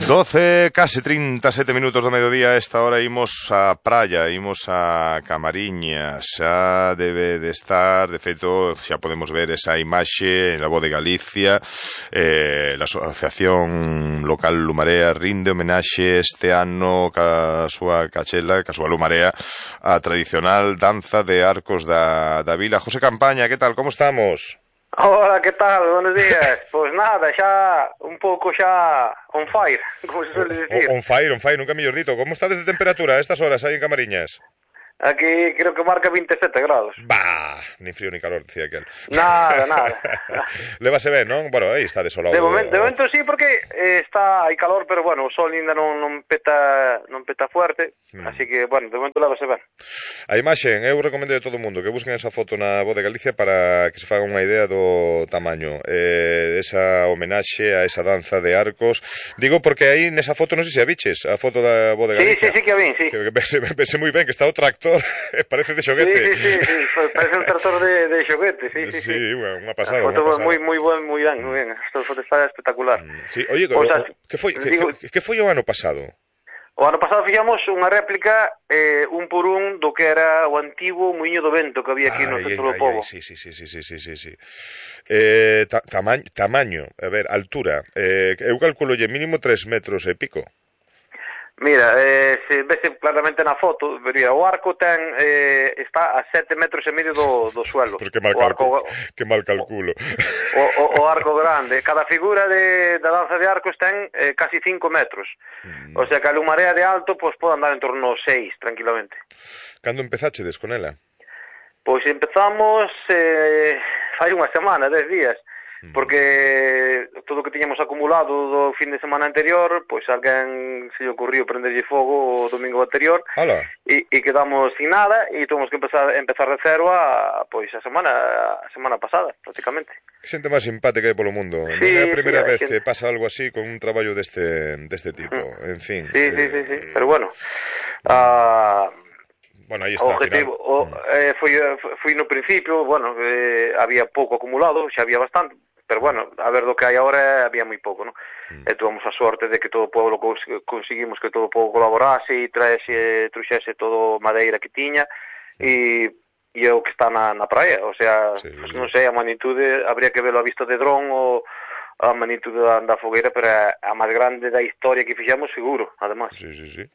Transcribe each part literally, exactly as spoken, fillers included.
doce, case trinta e sete minutos do mediodía. A esta hora imos a praia, imos a Camariñas. Xa debe de estar, de feito, xa podemos ver esa imaxe na Voz de Galicia. eh, a Asociación Local Lumarea rinde homenaxe este ano ca súa cachela, ca súa Lumarea, a tradicional danza de arcos da, da vila. José Campaña, que tal, como estamos? Hola, que tal? Buenos días. Pois nada, xa un pouco xa on fire, como se suele decir. On fire, on fire, nunca mellor dito. Como está desde temperatura a estas horas aí en Camariñas? Aquí creo que marca veinte e sete grados. Bah, ni frío ni calor, decía aquel. Nada, nada. Lévase ben, non? Bueno, aí está desolado. De momento, de momento sí, porque eh, está, hai calor, pero bueno, o sol ainda non, non peta non peta fuerte, hmm. así que, bueno, de momento lévase ben. A imaxe, eu recomendo a todo o mundo que busquen esa foto na Voz de Galicia para que se faga unha idea do tamaño, eh, esa homenaxe a esa danza de arcos. Digo porque aí nesa foto, non sei se a biches, a foto da Voz de Galicia. Sí, sí, sí que a vin, sí. Que, que pense, pense moi ben que está o tractor, parece de xoguete. Sí, sí, sí, sí, parece un tractor de, de xoguete, sí, sí, sí. Sí, unha pasada, unha pasada. moi, moi buen, moi ben, moi ben. Esta foto está espectacular. Sí, oye, o, sea, que foi, que, digo, que, que foi o ano pasado? O ano pasado fixamos unha réplica eh, un por un do que era o antigo Muiño do Vento que había aquí ay, no centro ay, do pobo. Sí, sí, sí, sí, sí, sí, sí, sí. Eh, ta, tamaño, tamaño, a ver, altura. Eh, eu calculo lle mínimo tres metros e pico. Mira, eh, se vese claramente na foto, vería, o arco ten eh, está a sete metros e medio do, do suelo. Pues que mal, o arco, que mal calculo. O, o, o arco grande. Cada figura de, da danza de arcos ten eh, casi cinco metros. Mm. O sea que a Lumarea de alto pues, pode andar en torno aos seis, tranquilamente. Cando empezachedes con ela? Pois empezamos eh, fai unha semana, dez días. Porque todo o que tiñamos acumulado do fin de semana anterior, pois alguén se lle ocurriu prenderlle fogo o domingo anterior e, e quedamos sin nada e tuvimos que empezar, empezar de cero a, pois a semana a semana pasada, prácticamente. Que xente máis simpática hai polo mundo. Sí, non é a primeira sí, vez que... que pasa algo así con un traballo deste, deste tipo, en fin. Sí, eh... sí, sí, sí, pero bueno... Uh... Bueno, aí está, o objetivo, o, eh, foi, foi no principio, bueno, eh, había pouco acumulado, xa había bastante, pero bueno, a ver do que hai agora había moi pouco, non? Mm. E tuvamos a sorte de que todo o povo conseguimos que todo o povo colaborase e traese, truxese todo madeira que tiña e, e é o que está na, na praia, o sea, sí, pues, non sei, a magnitude, habría que verlo a vista de dron ou a magnitude da, da fogueira, pero a, a máis grande da historia que fixemos, seguro, además. Sí, sí, sí.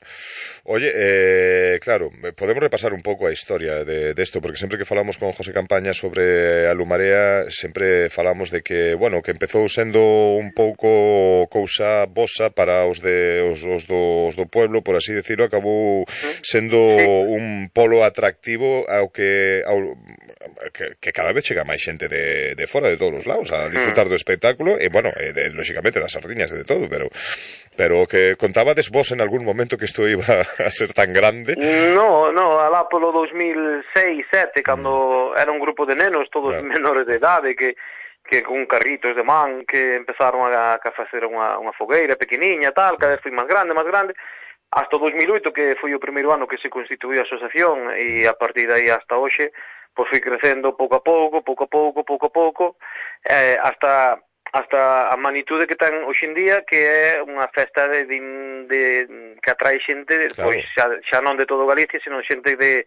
Oye, eh, claro, podemos repasar un pouco a historia de, de esto, porque sempre que falamos con José Campaña sobre a Lumarea, sempre falamos de que, bueno, que empezou sendo un pouco cousa bosa para os de os, os, do, os do pueblo, por así decirlo, acabou sendo sí. un polo atractivo ao que, ao, que, que cada vez chega máis xente de, de fora, de todos os lados, a disfrutar do espectáculo, e, bueno, eh, de, lógicamente das sardiñas e de todo, pero pero que contabades vos en algún momento que isto iba a ser tan grande? No, no, alá polo dos mil seis, sete, cando mm. era un grupo de nenos, todos claro. menores de idade, que que con carritos de man, que empezaron a, a facer unha, unha fogueira pequeniña, tal, cada vez foi máis grande, máis grande, hasta o dos mil oito, que foi o primeiro ano que se constituiu a asociación, e a partir de aí hasta hoxe, pois foi crecendo pouco a pouco, pouco a pouco, pouco a pouco, eh, hasta... hasta a magnitude que ten hoxe en día, que é unha festa de, de, de que atrae xente, claro. pois xa, xa non de todo Galicia, senón xente de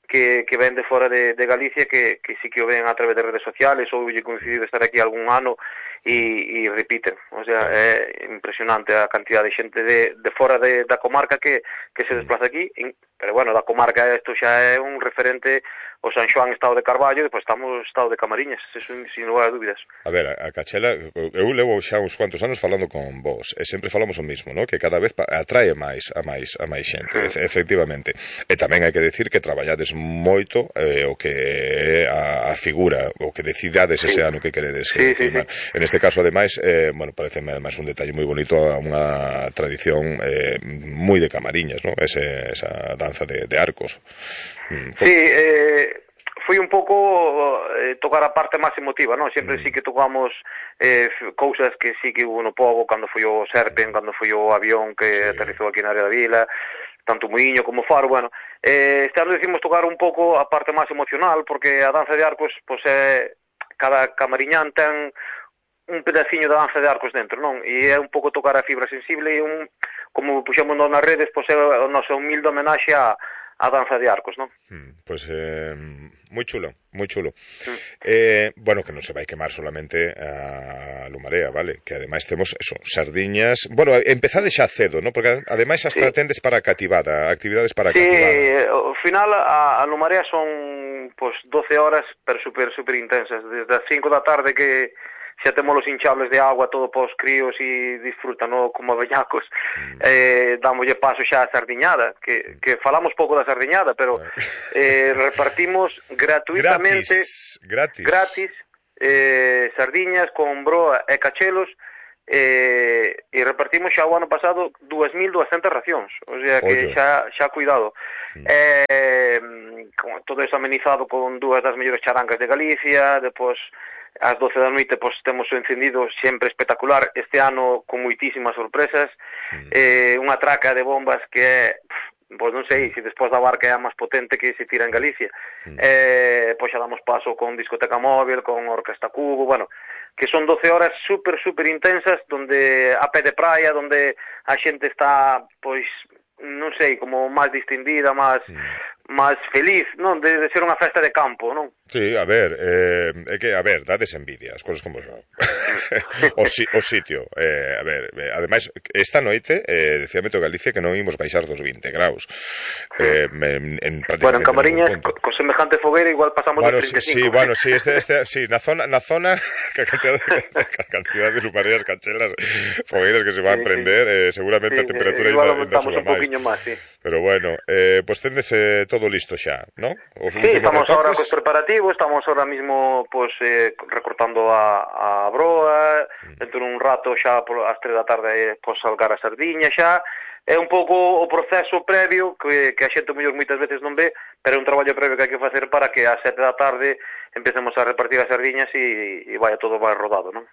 que, que ven de fora de, de Galicia, que, que sí que o ven a través de redes sociales, ou lle coincidido estar aquí algún ano e, e repiten. O sea, é impresionante a cantidad de xente de, de fora de, da comarca que, que se desplaza aquí, pero bueno, da comarca isto xa é un referente. O San Xoán, estado de Carballo, e depois estamos estado de Camariñas, eso sin lugar a dúbidas. A ver, a Cachela, eu levo xa uns cuantos anos falando con vos, e sempre falamos o mismo, ¿no? Que cada vez atrae máis a máis a máis xente, sí. efectivamente. E tamén hai que decir que traballades moito eh, o que é a, a figura, o que decidades sí. ese ano que queredes sí, sí, sí. En este caso, ademais, eh, bueno, parece además un detalle moi bonito a unha tradición eh, moi de Camariñas, ¿no? Ese, esa danza de, de arcos. Sí, eh, foi un pouco eh, tocar a parte máis emotiva, non? Sempre mm. sí que tocamos eh, cousas que sí que hubo no pobo, cando foi o Serpen, cando foi o avión que sí. aterrizou aquí na área da vila, tanto Muiño como Faro, bueno. Eh, este ano decimos tocar un pouco a parte máis emocional, porque a danza de arcos, pois, é, cada camariñán ten un pedaciño da danza de arcos dentro, non? E é un pouco tocar a fibra sensible e un, como puxemos nas redes, pois é o noso humilde homenaxe a a danza de arcos, non? Mm, pues eh, moi chulo, moi chulo. Mm. Eh, bueno, que non se vai quemar solamente a Lumarea, vale? Que ademais temos eso, sardiñas. Bueno, empezade xa cedo, ¿no? Porque ademais as sí. tratendes para cativada, actividades para sí, cativada. Sí, ao final a, a Lumarea son pues doce horas, pero super super intensas, desde as cinco da tarde que xa temos os hinchables de agua todo para os críos e disfrutan, no, como beñacos. Mm. Eh, dámoslle paso xa a sardiñada, que, que falamos pouco da sardiñada, pero eh, repartimos gratuitamente gratis, gratis, gratis eh, sardiñas con broa e cachelos, eh, e repartimos xa o ano pasado dúas mil duascentas racións, o sea que Oye. xa xa cuidado. Mm. Eh, todo eso amenizado con dúas das mellores charangas de Galicia, depois ás doce da noite pois temos o encendido sempre espectacular, este ano con moitísimas sorpresas, mm. eh, unha traca de bombas que é, pois non sei, se despois da barca é a máis potente que se tira en Galicia, mm. eh, pois xa damos paso con discoteca móvil, con orquesta cubo, bueno, que son doce horas super, super intensas, donde a pé de praia, donde a xente está, pois, non sei, como máis distendida, máis... Mm. máis feliz, non? De, de ser unha festa de campo, non? Sí, a ver, eh, é que, a ver, dades envidia, as cosas como son. o, si, o sitio, eh, a ver, eh, ademais, esta noite, eh, decía Meteo Galicia que non imos baixar dos vinte graus. Eh, en, en bueno, en Camariñas, con, con semejante fogueira, igual pasamos bueno, dos trinta e cinco. Sí, bueno, sí, este, este, sí, na zona, na zona, que a cantidad de, a cantidad de lumareas, cachelas, fogueiras que se van a sí, prender, sí. Eh, seguramente sí, a temperatura eh, igual ainda suba máis. Un máis, sí. Pero bueno, eh, pues tendes eh, todo listo xa, ¿no? Os sí, estamos retoques. Ahora cos preparativos, estamos ahora mismo pues eh, recortando a, a broa, mm. dentro dun rato xa por as tres da tarde pues salgar a sardiña xa, é un pouco o proceso previo que, que a xente mellor moitas veces non ve, pero é un traballo previo que hai que facer para que ás sete da tarde empecemos a repartir as sardiñas e, e vaya todo vai rodado, non?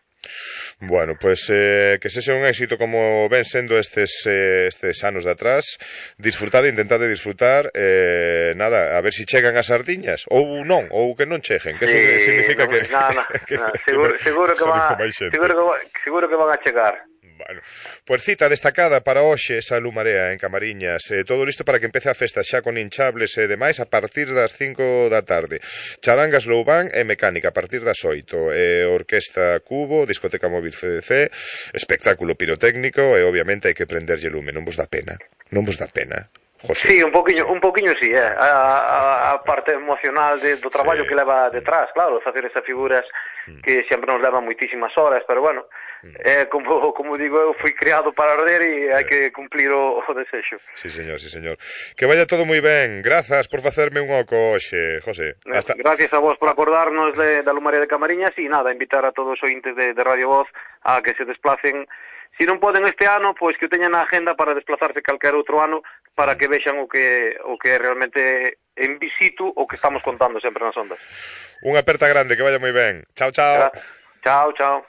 Bueno, pues eh, que sexa un éxito como ven sendo estes eh, estes anos de atrás. Disfrutade, intentade disfrutar, eh, nada, a ver se si chegan as sardiñas ou non, ou que non cheguen, que sí, eso significa no, que, no, no, que, no, seguro, que seguro que va, seguro que seguro que van a chegar. Bueno, pues cita destacada para hoxe esa Lumarea en Camariñas, eh, todo listo para que empece a festa xa con hinchables e demais a partir das cinco da tarde. Charangas Loubán e mecánica a partir das oito, eh, orquesta Cubo, discoteca móvil C D C, espectáculo pirotécnico e obviamente hai que prenderlle lume, non vos dá pena, non vos dá pena. José. Sí, un poquinho, un poquinho sí, eh. a, a, a parte emocional de, do traballo sí. que leva detrás, claro, facer esas figuras mm. que sempre nos levan moitísimas horas, pero bueno, mm. eh, como, como digo, eu fui criado para arder e hai que cumplir o, o desexo. Sí, señor, sí, señor. Que vaya todo moi ben, grazas por facerme un oco hoxe, José. Hasta... Gracias a vos por acordarnos de, da Lumarea de Camariñas e nada, invitar a todos os ointes de, de Radio Voz a que se desplacen. Si non poden este ano, pois que o teñan na agenda para desplazarse calquer outro ano para que vexan o que o que realmente en visitu o que estamos contando sempre nas ondas. Unha aperta grande, que vaya moi ben. Chao, chao. Chao, chao.